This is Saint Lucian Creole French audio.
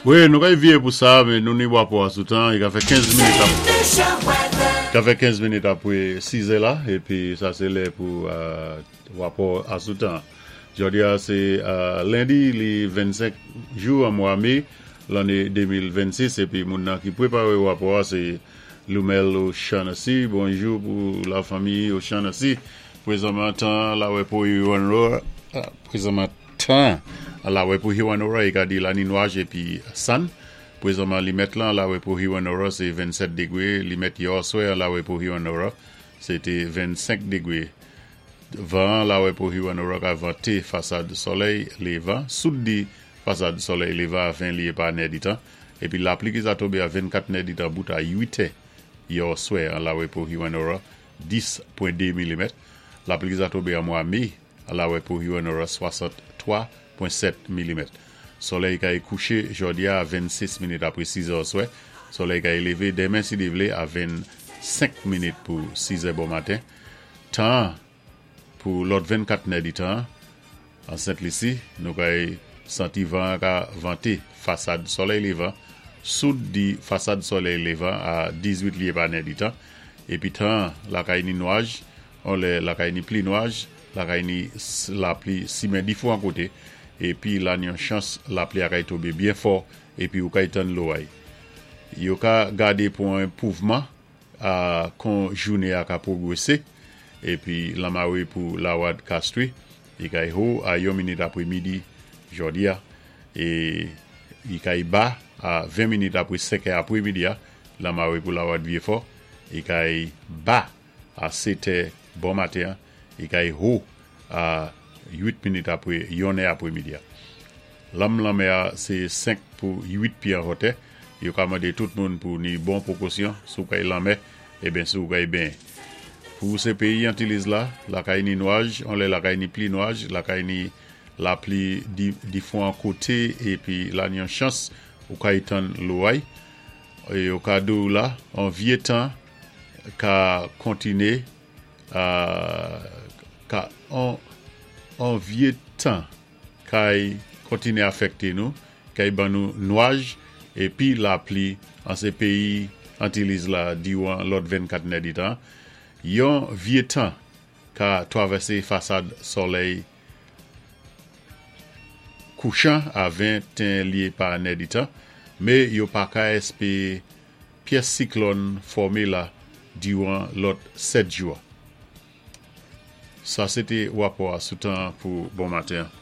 Wi, nou kay vyé pou sa, men nou ni wapò a sou tan, i ka fè 15 minit ap, ka fè 15 minit apwé 6 è la, épi sa sé lè pou wapò a sou tan. Jòdi a sé lendi li 25 jou an mwa me lanné 2026, épi moun nan ki pweparé wapò a sé Lumel O'Shaughnessy. Bonjou pou la fanmi O'Shaughnessy. Pwézanman tan la wè pou pwézanman tan la wè pou Hewanorra i ka di la ni nwaj épi sann. Pwézanman li mèt lan la wè pou Hewanorra sé 27 degwé, li mèt yè oswè an la wè pou Hewanorra sé té 25 degwé. Van an la wè pou Hewanorra ka vanté fasad sòlèy lévan, soud di fasad sòlèy lévan a 20 lyé pa nèditan, épi lapli ki sa tonbé a 24 nèditan bout a 8 è yè oswè an la wè pou Hewanorra 10.2 milimèt. Lapli ki sa tonbé an mwa mé la wè pou Hewanorra 63.7 milimèt. Sòlèy kay kouché jòdi a 26 minit apwé 6 è oswè. Sòlèy kay lévé denmen si Dye vlé a 25 minit pou 6 è bon maten. Tan an pou lòt 24 nèditan an, an Sent Lisi, nou kay santi van an ka vante fasad sòlèy lévan, soud di fasad sòlèy lévan a 18 lye pa nèditan, épi tan an lakay ni nwaj On lè lakay ni pli nwaj, lakay ni lapli simen difwan koté, épi la ni yon chans lapli a kay tonbé byen fò épi ou kay tann loway. Yo ka gadé pou on enpouvman a kon jouné a ka pwogwésé, épi lanmawé pou lawad Castries, i kay ho a yon minit apwé midi jòdi a, é i kay ba a 20 minit apwé 5 è apwé midi a, lanmawé pou lawad Vyefò, i kay ba a setè bon maten an, i kay ho a 8 minit apre yonnè apre midi a. Lanm lanmè a se 5 pou 8 pye an hotè. Yo ka mande tout moun pou ni bon pwokosyon si w kay lanmè eben si w kay benyen. Pou se peyi Antiliz la, lakay ni nwaj, on lè lakay ni pli nwaj, lakay ni lapli di difwan kote epi la ni yon chans ou kay tann loway. Yo ka di w la on vye tan ka kontine ka on vye tan kay kontine afèkte nou, kay ban nou nwaj epi lapli an se peyi Antiliz la diwan lòt 24 nèditan, yon vye tan ka twavèse fasad sòlèy kouchan a 21 lye pa nèditan, me yo pa ka èspee Pyès siklòn fòme la diran lòt 7 jou a. Sa se te rapò a sou tan an pou bon maten an.